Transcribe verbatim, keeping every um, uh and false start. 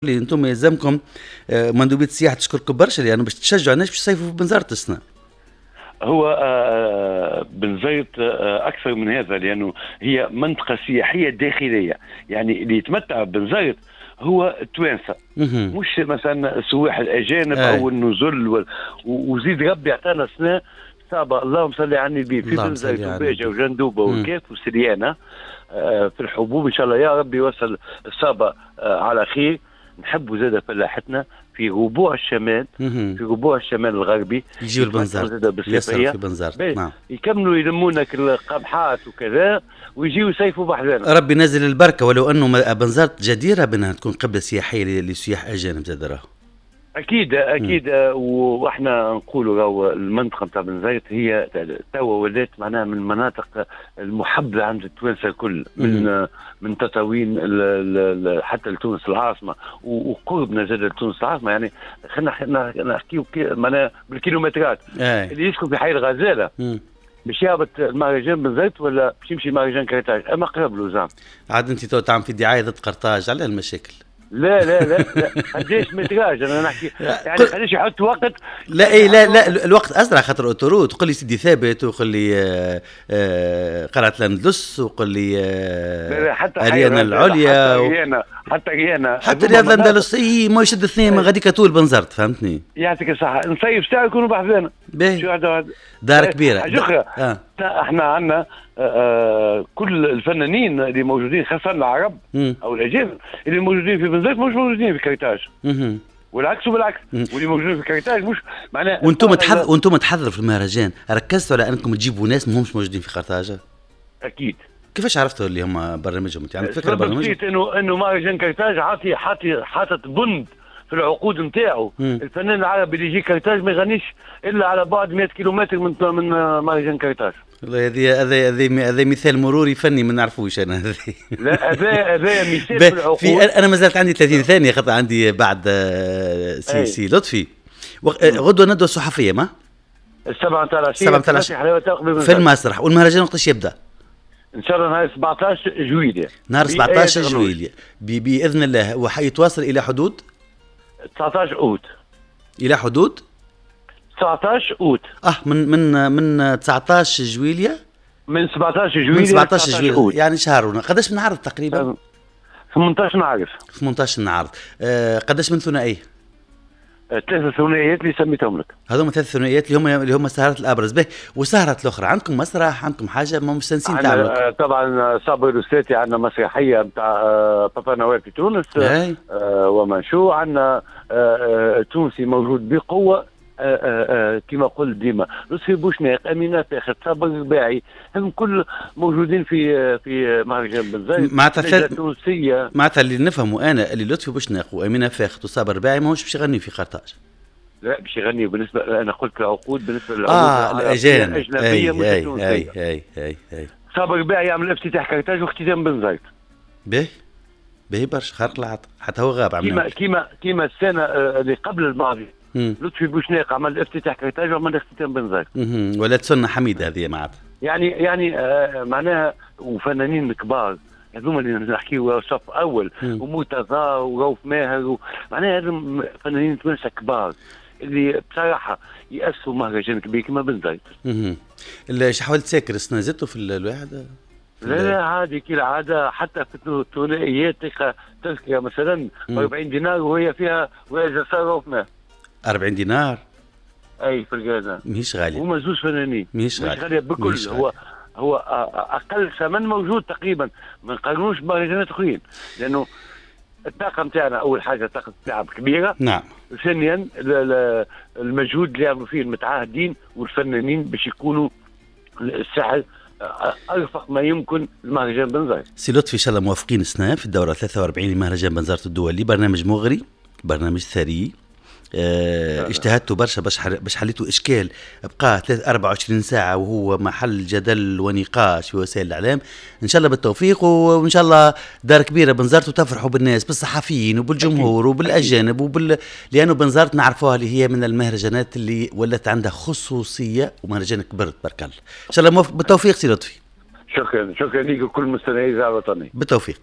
اللي انتم يلزمكم آه، مندوبيه السياحة تشكركم برشا لانه باش تشجعوا الناس باش يصيفوا في بنزرت السنة. هو آه، بنزرت آه، اكثر من هذا، لانه هي منطقة سياحية داخليه، يعني اللي يتمتع بنزرت هو التوانسة، مش مثلا السواح الاجانب او النزل. وزيد ربي اعطانا سنة صابه، اللهم صل على النبي، في بنزرت وباجه وجندوبه والكاف وسريانه في الحبوب. ان شاء الله يا ربي يوصل الصابه على خير. نحبوا زاد فلاحتنا في ربوع الشمال، في ربوع الشمال الغربي يجيو البنزرت، يسروا في بنزرت، نعم، يكملوا يلمونا القمحات وكذا ويجيو يصيفوا بحذانا. ربي نزل البركة، ولو انه بنزرت جديرة بانها تكون قبله سياحية لسياح اجانب زاد راهو. اكيد اكيد، واحنا نقولوا راهو المنطقة نتاع بنزرت هي توا ولات معناها من المناطق المحبذه عند التوانسة الكل، من من تطاوين حتى لتونس العاصمة، وقربنا زاد لتونس العاصمة. يعني خلينا نحكيو معناها بالكيلومترات. اللي يسكن في حي الغزالة باش يهبط المهرجان بنزرت ولا باش يمشي مهرجان قرطاج، اما قرب له زعما. عاد انت تو تعمل في دعاية ضد قرطاج على المشاكل. لا لا لا لا، قداش métrage انا نحكي، يعني قداش يحط وقت. لا اي لا لا، الوقت اسرع خاطر autoroute. قول لي سيدي ثابت، وقول لي آه، آه، قلعه الاندلس، وقول لي آه، حتى اريانا العليا، حتى اريانا، حتى اريانا، حتى رياض الاندلس. اي ما يشد اثنين من غاديك طول بنزرت، فهمتني؟ يعطيك الصحة، نصيف ساعة يكونوا بحذانا. باهي، دار كبيرة. حاجة اخرى، آه. احنا عندنا آه كل الفنانين اللي موجودين، خاصة العرب مم. او الاجانب اللي موجودين في بنزرت مش موجودين في قرطاج، والعكس وبالعكس، واللي موجودين في قرطاج مش معناها. وانتم تحضر وانتم تحضروا في المهرجان، ركزتوا على انكم تجيبوا ناس ما همش موجودين في قرطاج؟ اكيد. كيفاش عرفتوا اللي هم برنامجهم؟ انت عندك فكرة برنامجهم؟ انه انه مهرجان قرطاج عاطي حاطي حاطط بند في العقود نتاعو، الفنان العربي اللي يجي قرطاج ما يغنيش الا على بعد مئة كيلومتر من من مهرجان قرطاج. والله هذه هذا هذا هذا مثال مروري فني ما نعرفوش انا هذا. لا، هذا هذا مثال في العقود. في انا ما زالت عندي ثلاثين ثانية خاطر عندي بعد سي سي لطفي. غدوه ندوه صحفية ما؟ السبعة نتاع العشية. السبعة نتاع العشية في المسرح. والمهرجان وقتاش يبدا؟ ان شاء الله نهار سبعطاش جويلية. نهار سبعطاش جويلية باذن الله، وحيتواصل الى حدود؟ تسعطاش اوت. الى حدود؟ تسعطاش اوت. اه من من من تسعطاش جويلية، من سبعطاش جويلية، من سبعطاش جويلية، يعني شهر. قداش من عرض تقريبا؟ ثمنطاش عرض. ثمنطاش عرض. آه قداش من ثنائية؟ ثلاثة ثنائيات اللي سميتهم لك. هذوما ثلاث ثنائيات اللي هم اللي هم السهرات الابرز. به وسهرات الاخرى عندكم مسرح، عندكم حاجة ما مستانسين تعملوا؟ طبعا صابر الوسلاتي عندنا مسرحية نتاع بابا نويل في تونس، آه ومنشو عندنا آه تونسي موجود بقوة، كما قلت ديما لطفي بوشناق، امينه فاخر، صابر الرباعي، هم كل موجودين في في مهرجان بنزرت. معناتها التونسية، معناتها اللي نفهمه انا اللي لطفي بوشناق وامينه فاخر وصابر الرباعي ماهوش باش يغني في قرطاج. لا باش يغني، بالنسبة انا قلت العقود بالنسبة للعقود اه الاجانب الاجنبية مش التونسية. اي اي اي اي صابر الرباعي يعمل افتتاح قرطاج واختتام بنزرت. باهي باهي برشا، خارق العادة، حتى هو غاب. كيما كيما كيما السنة اللي قبل الماضية لطفي بوشناق عمل افتتاح قرطاج وعمل اختتام بنزرت. ولات سنة حميده هذه معناتها. يعني يعني آه معناها وفنانين كبار هذوما اللي نحكيو صف اول، ومرتضى ورؤوف ماهر، معناها هذوما فنانين توانسة كبار اللي بصراحة يأسوا مهرجان كبير كما بنزرت. اها. حاولت تساكر السنة زدتوا في الواحد؟ لا لا عادي كالعادة، حتى في الثنائيات تلقى تذكره مثلا أربعين دينار وهي فيها وهي رؤوف ماهر. أربعين دينار؟ اي في الجازة. ماهيش غالية. هما زوج فنانين. ماهيش غالية. غالية بكل، هو هو أقل ثمن موجود تقريبا، ما نقارنوش بمهرجانات أخرين، لأنه الطاقة نتاعنا أول حاجة طاقة التعب كبيرة. نعم. ثانيا المجهود اللي يعملوا فيه المتعاهدين والفنانين باش يكونوا الساحل ارفق ما يمكن المهرجان بنزرت. سي لطفي ان شاء الله موافقين السنة في الدورة ثلاثة وأربعين لمهرجان بنزرت الدولي، برنامج مغري، برنامج ثري. اه اجتهدتوا برشا باش باش حليتوا اشكال بقى أربعة وعشرين ساعة وهو محل جدل ونقاش في وسائل الاعلام. ان شاء الله بالتوفيق، وان شاء الله دار كبيرة بنزرت وتفرحوا بالناس، بالصحفيين وبالجمهور وبالاجانب وبال لانه بنزرت نعرفوها اللي هي من المهرجانات اللي ولات عندها خصوصية، ومهرجان كبر تبارك الله. ان شاء الله بالتوفيق سي لطفي. شكرا شكرا لك وكل مستمعي الاذاعة الوطنية. بالتوفيق.